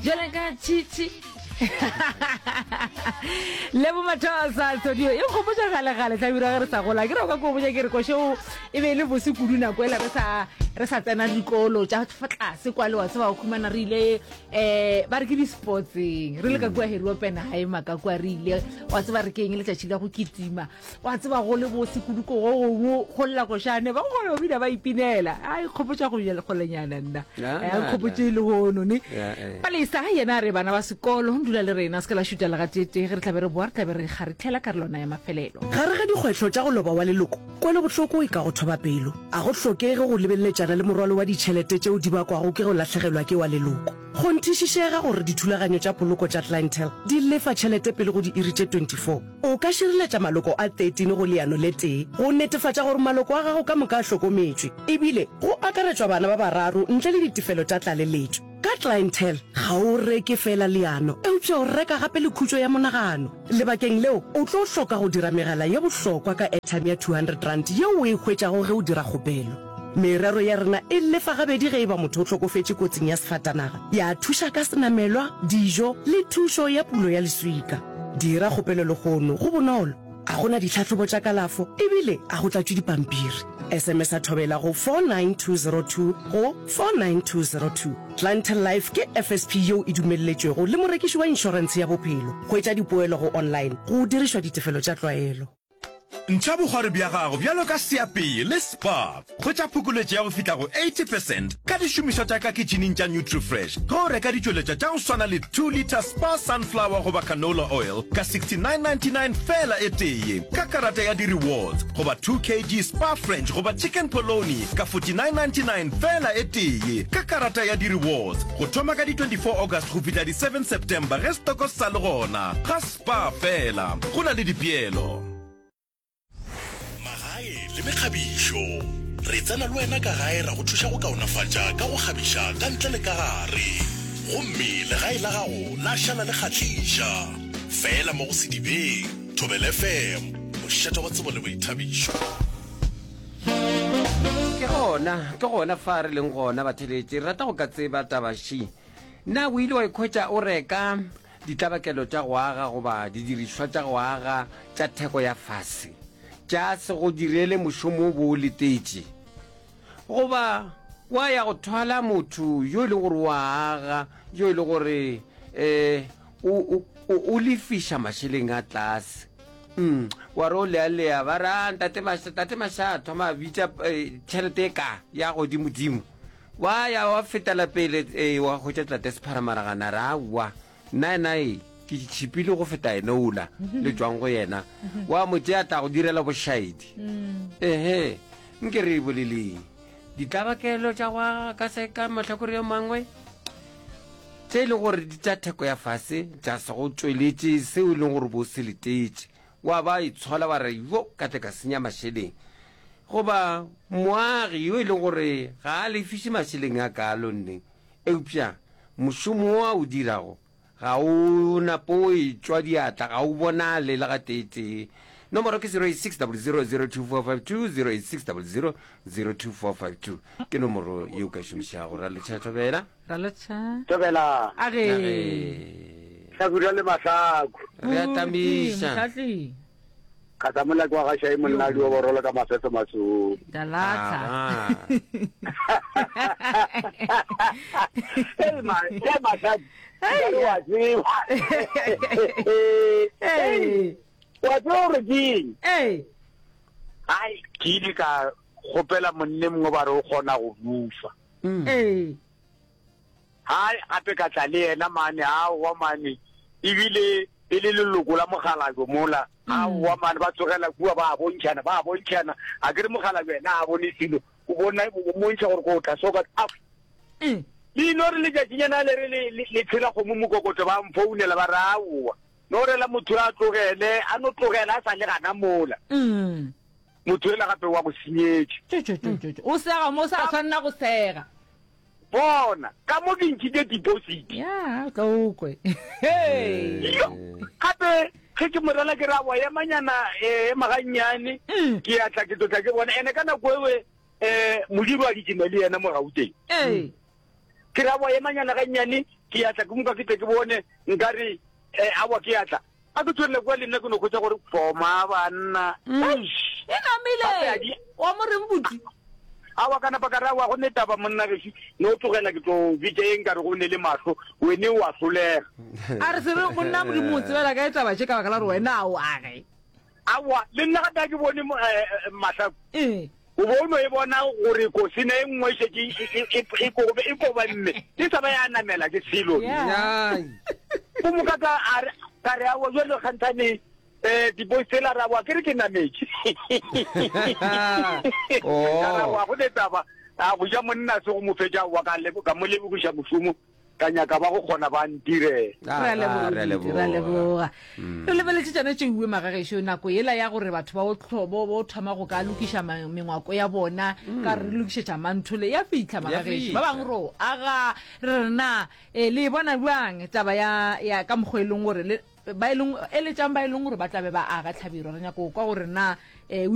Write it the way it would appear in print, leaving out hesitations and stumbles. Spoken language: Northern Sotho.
Jale ka tšhitšhi. Lebo Mathosa Tsodio e nkgopotša gale-gale hlabirwa ge re sa gola ke re o ka ko botša ke re košeo e be e le bose kudu nako ela re sa re sa tsena dikolo tša fa tlase kwa le wa tseba o khumana re ile um ba re ke di-sportseng re le ka kua Harry Oppenheimer ka kua re ile wa tseba re ke eng letšatši la go kitima Wa tseba go le bose kudu ko go gongwe go lla košane ba kgona go bina ba ipinela. A ikgopotša go bjale kgolenyana nna. A nkgopotše le hono ne. Palesa yena a re bana ba sekolo dula le rena se ke la šuta le gateetee ge re tla be re boa re tla be re kgaritlhela karolwana ya mafelelo. Gare ga dikgwetlho tša go loba wa leloko, kwelobohloko e ka go thoba pelo. A go hlokege go lebeleletšana le morwalo wa ditšhelete tšeo di bakwago ke go lahlegelwa ke wa leloko. Kgonthišišega gore dithulaganyo tša poloko tša Clientele di lefa tšhelete pele go diiri tše 24. O ka šireletša maloko a 13 go leano le tee go netefatša gore maloko a gago ka moka a hlokometšwe, ebile go akaretšwa bana ba bararo ntle le ditefelo tša tlaleletšo. Ka Clientele, ga o reke feela leano, eupša o reka gape le khutšo ya monagano. Lebakeng leo, o tlo hloka go dira megala ye bohlokwa ka airtime ya R200 yeo o e hwetšago ge o dira kgopelo. Merero ya rena e lefa gabedi ge e ba motho o hlokofetše kotsing ya sefatanaga, ya thuša ka senamelwa, dijo le thušo ya pulo ya leswika. Dira kgopelo lehono, go bonolo, ga go na ditlhahlobo tša kalafo ebile ga go tlatšwe dipampiri. SMS-a Thobela go 49202 go 49202. Clientele Life ke FSP yeo e dumelletšwego le morekiši wa inšorentshe ya bophelo. Hwetša dipoelo go online go dirišwa ditefelo tša tlwaelo. Ntšha bokgwari bja gago bjalo ka seapei le Spar. Hwetša phokoletšo ya go fihla go 80 percent ka dišomišwa tša ka kitšhining tša Nutrifresh ge o reka ditšweletšwa tša go swana le 2 litre Spar Sunflower goba Canola Oil ka 69.99 feela e tee ka karata ya di-rewards goba 2 kg Spar French goba Chicken Polony ka 49.99 feela e tee ka karata ya di-rewards go thoma ka di 24 August go fihla di 7 September ge setoko se sa le gona. Ga Spar fela, go na le dipeelo. Magae le mekgabišo. Re tsena le wena ka gae ra go thuša go kaonafatša ka go kgabiša ka ntle le ka gare. Gomme legae la gago la šala le kgahliša. Feela mo go Sedibeng, Thobela FM, mošate wa tsebo le boithabišo. Ke gona, ke gona fa re leng gona, batheeletši. Re rata go ka tseba taba še. Na o ile wa ikhwetša o reka Ditlabakelo tša go aga goba didirišwa tša go aga tša theko ya fase tša se go direle mošomo o bo o letetše, goba wa ya go thwala motho yo e lego gore o a aga, yo e lego gore um o, o lefiša mašeleng a tlase. Mm, wa re o lealea ba re a ntate Masha, tate Masha a thoma a bitša eh, tšhelete e ka ya godimodimo. Wa ya wa fetela pele, ee, wa hwetša tate Sepharamaragana, a re, Aowa, nna yena e, ke tšhipile go feta yena ola le tšwang go yena. Wa mo tšea tla go direla bošaedi. Ehe, nke re e boleleng. Ditlabakelo tša go aga ka se ka mahlakore a mangwe, tše e lego gore di tša theko ya fase, tša se go tšweletše seo e leng gore bo se letetše. Wa ba itshola wa re, Yo, ka tle ka senya mašeleng. Goba moagi yo e lego gore ga a lefiše mašeleng a kaalo nneng, eupša mošomo wo a o dirago ga o nape o etšwa diatla, ga o bonale le gateetee. Nomoro ke 086 00 02452, 086 00 02452 ke nomoro ye o ka e šomišago. Ra lotšha Thobela. Ra lotšha. Thobela. A ge. Hlakura le mahlaku. Re a tamiša. Mohlahli. Ka tla mola ke wa ga Shai monna di oborolo ka mafefe masong. Dalata. Hey ma, hey masadi. Hey wa tseba. Hey. Wa tseba gore ke eng? Hey. Ai, ke ile ka kgopela monne mongwe ba re o kgona go bufa. Ee. Hai, gape ka tla le yena mane, aowa mane, ebile e le leloko la mokgalabje mola, aowa mane, ba tsogela kua ba bontšhana, ba bontšhana, a ke re mokgalabje yena a bone selo, o bona, o mmontšha gore ko tla soka, a le no re letšatšinyana le re le, le, le tshela kgomo mokokotlo, ba mfounela ba re aowa, no rela motho a tlogele, a no tlogela a sa le gana mola. Motho yola gape wa go senyetša. Tšo, tšo, tšo, tšo, tšo. O sega mo o sa tshwanela go sega. Bona, ka mo ke ntšhitše deposit. Ya, o tla o kwe. Hey! Yo, gape ge ke mo rela ke re aowa emanyana, eh, ema gannyane, ke ya tla ke tlo tla ke bona. Ene ka nako ewe, eh, modiro a kitima le yena mo Gauteng. Ee. Ke re aowa emanyana gannyane. Ke ya tla ke moka ke tle ke bone nkare eh, aowa ke ya tla. A ke tšwelele kua le nna ke no hwetša gore foma banna. Eish! E namile. Gape a di- Wa mo reng buti? Aowa ka napa ka re aowa go ne taba monna gešo no tlogela ke tlo bitša ye nkare go ne le mahlo wene wa hlolega. A re se re monna Modimo o tsebela kae taba tše ka baka la gore wena a o age. Aowa le nna gape a ke bone eh, eh, mahlaku. Ee. O bo o no e bona gore kosene e nngwe e šetše e, e, e, e, kobe, e kobamme e sa ba ya namela ke selo. Yeah. Ai. Go moka ka a re ka re aowa jwale kganthane eh di-boys tsela ra wa ke re ke nametše. Oh. Ka ra wa go ne taba a go ja monna se go mo fetša wa ka lebo ka mo lebogiša mošomo ka nyaka ba go kgona ba ntirela. Ah, Re a ah, leboga, re a Moditi, re a leboga. leboga. Re lebeletše tšona tše uwe magagešo nako yela ya gore batho ba o hlo- bo bo thoma go ka lokiša ma- mengwako ya bona ka re lokišetša manthole ya fihla magagešo. Ba fihla. bangwe ro aga re re na eh, le e bona bjang taba ya ya ka mokgwa e leng gore le ba e leng eletšang ba e leng gore ba tla be ba aga tlhabirwa re nyako kwa gore na eh, o.